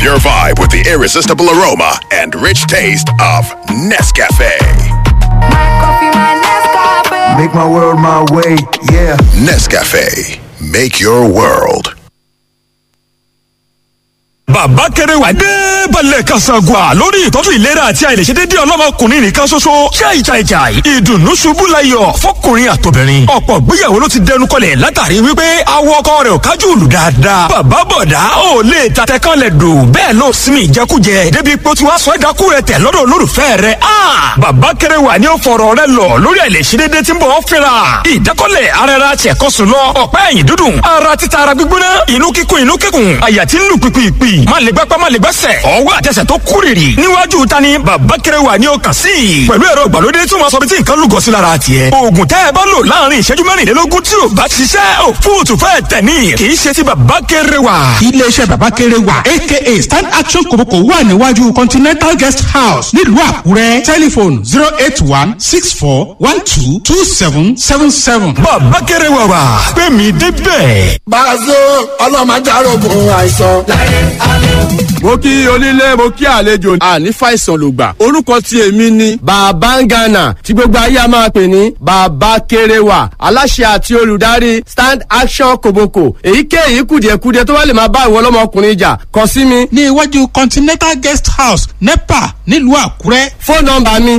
your vibe with the irresistible aroma and rich taste of Nescafe. Make my world my way, yeah. Nescafe, make your world. Bàbá Kẹrẹwà dé balẹ̀ kasagua lórí ìtọ́jú ìlera àti àìlèṣedédé ọlọ́mọkùnrin nìkan ṣoṣo. Jai ìdùnnú ṣubú layọ̀ fọkùnrin àtobìnrin. Ọ̀pọ̀ gbéyàwó ló ti dẹnu kọlẹ̀ látàrí wípé awọ ọkọ rẹ̀ ò kájú òlù dáadáa. Bàbá bọ̀dá ò lè ta tẹkànlẹ̀ dò bẹ́ẹ̀ ló sinmi ìjẹkújẹ débi pé ó ti wá sọ ìdákú rẹ̀ tẹ̀ lọ́dọ̀ olólùfẹ́ rẹ̀. Bàbá Kẹrẹwà ni ó fọ̀rọ̀ rẹ̀ lọ lórí àìlèṣedédé tí ń bọ̀ fínra. Ìdákọ́lẹ̀ ara ẹra ṣẹ̀kọ́sùn lọ, ọ̀pá ẹ̀yìn dúdùn, ara títa, ara gbígbóná, inú kíkún, inú kíkùn, àyà tí ń lù pìpìpì, má lè gbápá, má lè gbẹ́sẹ̀, ọwọ́ àtẹsẹ̀ tó kúrìrì. Níwájú ta ni Bàbá Kẹrẹwà ni ó kàn sí pẹ̀lú ẹ̀rọ ìgbàlódé tí wọ́n sọ bí tí nǹkan lúgọ sí lára tiẹ̀. Oògùn tẹ́ ẹ bá lò láàrin ìṣẹ́jú 24 tí ò bá ṣiṣẹ́, ò fóòtù fẹ́ tẹ̀ ní kì í ṣe ti Bàbá Kẹrẹwà. Iléeṣẹ́ Bàbá Kẹrẹwà, aka Stand Action Kòbókò, wà níwájú Continental Guest House nílùú Àkúrẹ́. Tẹlifon 08164122777. Bàbá Kẹrẹwà wà pé mi débẹ̀. Bàzó ọlọ́mọdárògùn àìsàn. Mo kí onílé, mo kí àlejò, àní fàìsàn ló gbà. Orúkọ tí èmi ni Bàbá Ngana, tí gbogbo ayé a máa pè ní Bàbá Kéréwà, aláṣẹ àti olùdarí Stand Action Koboko. Èyíkéyìí kùdìẹ̀kudiẹ tó bá lè máa bá ìwọ ọlọ́mọkùnrin jà, kàn sí mi. Ní iwájú Continental Guest House, NEPA, nílùú Àkúrẹ́. Fóònù nọ́mbà mi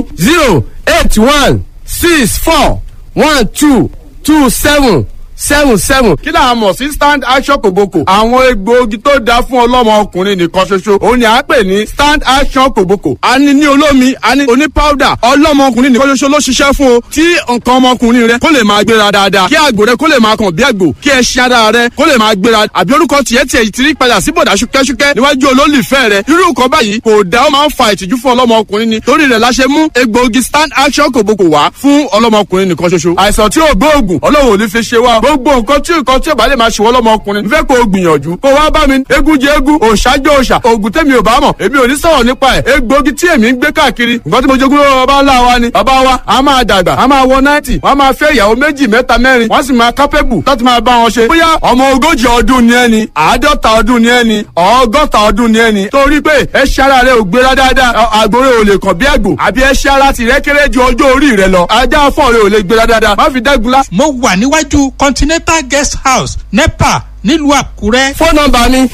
08164122777. Kí là á mọ̀ sí Stand Action Kòbókò? Àwọn egbòogi tó dáa fún ọlọ́mọ ọkùnrin nìkan ṣoṣo òun ni à ń pè ní Stand Action Kòbókò. A ní ní olómi, a ní oní powder. Ọlọ́mọ ọkùnrin nìkan ṣoṣo ló ṣiṣẹ́ fún o, tí nǹkan ọmọkùnrin rẹ kó lè máa gbéra dáadáa, kí àgbò rẹ kó lè máa kàn bí àgbò, kí ẹṣin ara rẹ kó lè máa gbéra, àbí orúkọ tiẹ̀ tiẹ̀ ti rí padà sí bọ̀dà ṣúkẹ́ṣúkẹ́ níwájú olólùfẹ́ rẹ. Irú nǹkan báyìí kò dá, ó máa ń fa ìtìjú fún ọlọ́mọkùnrin ni. Torí rẹ̀ la ṣe mú egbòogi Stand Action Kòbókò wá fún ọlọ́mọkùnrin nìkan ṣoṣo. Àìsàn tí ò gbóògùn, Ọlọ́run ò ní fi ṣe wá. Gbogbo nǹkan tí nǹkan tí ò bá lè máa ṣe wọ́n lọ́mọkùnrin, n fẹ́ kó o gbìyànjú kó wá bá mi. Eégún jẹ eégún, òòṣà jẹ òòṣà, oògùn tèmi ò bá mọ̀, èmi ò ní sọ̀rọ̀ nípa ẹ̀. Egbòogi tí èmi ń gbé káàkiri, nǹkan tí mo jogún lọ́wọ́ bàbá ńlá wa ni. Bàbá wa a máa dàgbà, a máa wọ 90, wọ́n máa fẹ́ ìyàwó méjì, mẹ́ta, mẹ́rin, wọ́n sì máa kápẹ́bù láti máa bá wọn ṣe. Bóyá ọmọ 40 ọdún ni ẹni, 50 ọdún ni ẹni, 60 ọdún ni ẹni, torí pé ẹṣin ara rẹ ò gbéra dáadáa, àgbòrè ò lè kàn bí àgbò, àbí ẹṣin ara tìrẹ kéré ju ọjọ́ orí rẹ lọ, ajá fọ́ọ̀rẹ́ ò lè gbéra dáadáa, má fi dẹ́gunlá. Mo wà níwájú Continental Guest House, NEPA, nílùú Àkúrẹ́. Fóònù nọ́mbà mi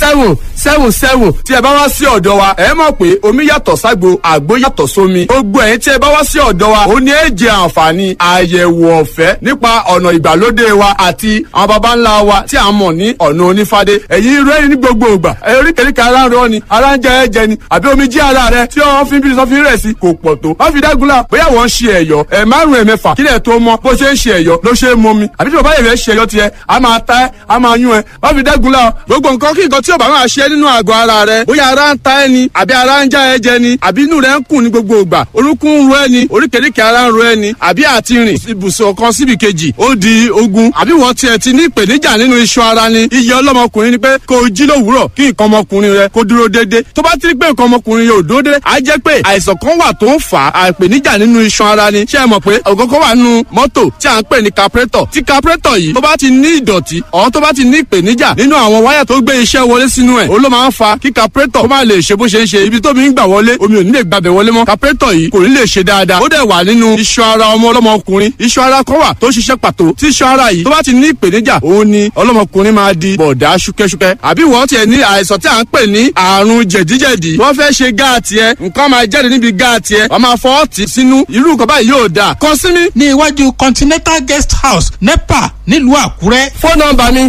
08164122777. Tí ẹ bá wá sí ọ̀dọ̀ wa, ẹ mọ̀ pé omi yàtọ̀ ságbo, àgbo yàtọ̀ sómi. Gbogbo ẹ̀yin tí ẹ bá wá sí ọ̀dọ̀ wa, ó ní èjì àǹfààní àyẹ̀wò ọ̀fẹ́ nípa ọ̀nà ìgbàlódé wa àti àwọn baba ńlá wa tí a mọ̀ ní ọ̀nà onífádé. Ẹ̀yin irú ẹ̀yin ní gbogbo ìgbà, oríkèéríkèé ara ń rọ ni, ara ń jẹ ẹ̀jẹ̀ ni, àbí omi jí ara rẹ tí wọ́n fi ń bí sọ́fin rẹ̀ sí kò pọ̀ tó. Wọ́n fi dágunlá bóyá wọ́n ń ṣe ẹ̀yọ́ ẹ̀ márùn-ún, ẹ̀mẹ́fà kílẹ̀ tó mọ, bó ṣe ń ṣe ẹ̀yọ́ ló ṣe é mọ mi, àbí tí bàbá yẹn fẹ́ ṣe ẹ̀yọ́ tiẹ̀, a máa ta ẹ́, a máa yún ẹ. Wọ́n fi dágunlá gbogbo nǹkan kí nǹkan tí ò bá máa ṣe nínú àgọ́ ara rẹ, bóyá ara ń ta ẹ́ ni, àbí ara ń já ẹ jẹ ni, àbí inú rẹ ń kùn ní gbogbo ìgbà, orúnkún ń ro ẹ ni, oríkèéríkèé ara ń ro ẹ ni, àbí àti rìn ibùsùn kan síbi kejì ó di ogun, àbí wọ́n tiẹ̀ ti ní ìpèníjà nínú iṣan ara ni. Iye ọlọ́mọkùnrin ni pé kó o jí lówùúrọ̀ kí nǹkan ọmọkùnrin rẹ kó dúró déédéé. Tó bá ti rí pé nǹkan ọmọkùnrin yóò dúró déédéé, á jẹ́ pé àìsàn kan wà tó ń fà á ìpèníjà nínú iṣan ara ni. Ṣé ẹ mọ̀ pé ògógó wà nínú mọ́tò tí à ń pè ní carburetor? Tí carburetor yìí tó bá ti ní ìdọ̀tí ọ̀, tó bá ti ní ìpèníjà nínú àwọn wáyà tó gbé iṣẹ́ wọlé sínú ẹ̀, òun ló máa ń fa kí carburetor kó má lè ṣe bó ṣe ń ṣe. Ibi tó mi ń gbà wọlé, omi ò ní lè gbàbẹ̀ wọlé mọ́, carburetor yìí kò ní lè ṣe dáadáa. Ó dẹ̀ wà nínú iṣan ara ọmọ ọlọ́mọkùnrin, iṣan ara kan wà tó ṣiṣẹ́ pàtó. Tí iṣan ara yìí tó bá ti ní ìpèníjà, òun ni ọlọ́mọkùnrin máa di bọ̀dá ṣúkẹ́ṣúkẹ́. Àbí wọ́n tiẹ̀ ní àìsàn tí à ń pè ní àrùn jẹ̀díjẹ̀dí, wọ́n fẹ́ ṣe gáàtì ẹ, nǹkan máa jáde níbi gáàtì ẹ, wọ́n máa fọwọ́ tì sínú, irú nǹkan báyìí yóò dáa. Kàn sí mi. Ní iwájú Continental Guest House, NEPA, nílùú Àkúrẹ́. Fóònù nọ́mbà mi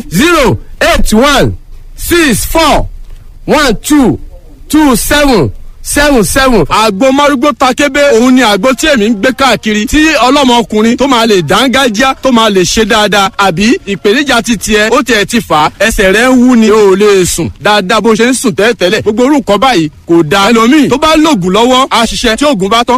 08164122777. Àgbo márúgbó takébé òun ni àgbo tí èmi ń gbé káàkiri, tí ọlọ́mọkùnrin tó máa lè dángájá, tó máa lè ṣe dáadáa. Àbí ìpèníjà ti tiẹ̀ ó tiẹ̀ ti fà á, ẹsẹ̀ rẹ̀ ń wú ni, o ò lè sùn dáadáa bó ṣe ń sùn tẹ́lẹ̀tẹ́lẹ̀, gbogbo orú nǹkan báyìí kò dáa. Ẹlòmíì tó bá lògùn lọ́wọ́ á ṣiṣẹ́, tí òògùn bá tán